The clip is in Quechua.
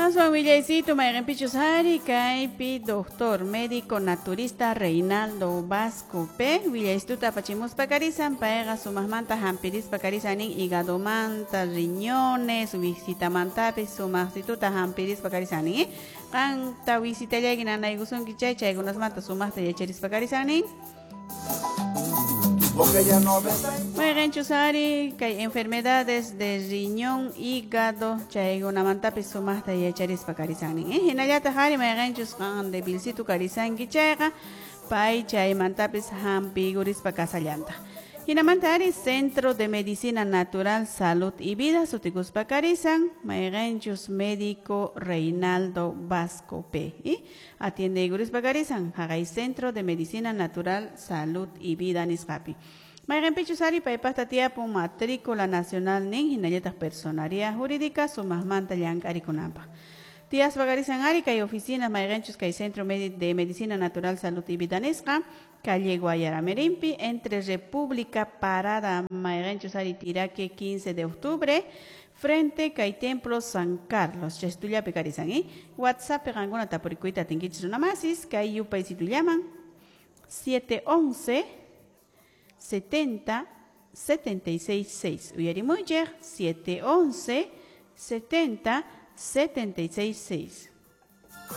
Aswan willaysitu mayqinpichus ari kaypi doctor médico naturista Reinaldo Vasco P willaystuta apachimuspa karisan payqa sumaqmanta hampirispa karisan nin hígadomanta riñones wisitamantapish sumaqsituta hampirispa karisan nin qanta wisitallayki nanaykusunki chay chaykunasmanta sumaqta yacharispa karisan nin. Mayqinchus ari kay enfermedades de riñón, hígado chaykunamantapis sumaqta yacharispa karisan nin. Hinallataq ari mayqinchus qan debilcitu karisanki chayqa pay chaymantapis hampiykurispa kasallantaq. Hinamanta ari Centro de Medicina Natural, Salud y Vida sutikuspa karisan mayqinchus médico Reinaldo Vasco P. Atiendeykurispa karisan haqay Centro de Medicina Natural, Salud y Vida nisqapi. Mayqinpichus ari paypaqta tiyapun matrícula nacional nin hinallataq personaria jurídica sumaqmanta llank'arikunanpaq. Tiyaspa karisan ari kay oficinas mayqinchus kay Centro de Medicina Natural, Salud y Vida nisqa calle Guayaramerimpi entre República Parada mayqinchus ari Tiraque 15 de octubre frente kay Templo San Carlos chaystullapi karisan. WhatsApp qankuna tapurikuyta atinkichis runamasis kay yupaysitullaman 711 70 76 6 uyarimuychik 711 70 76 6.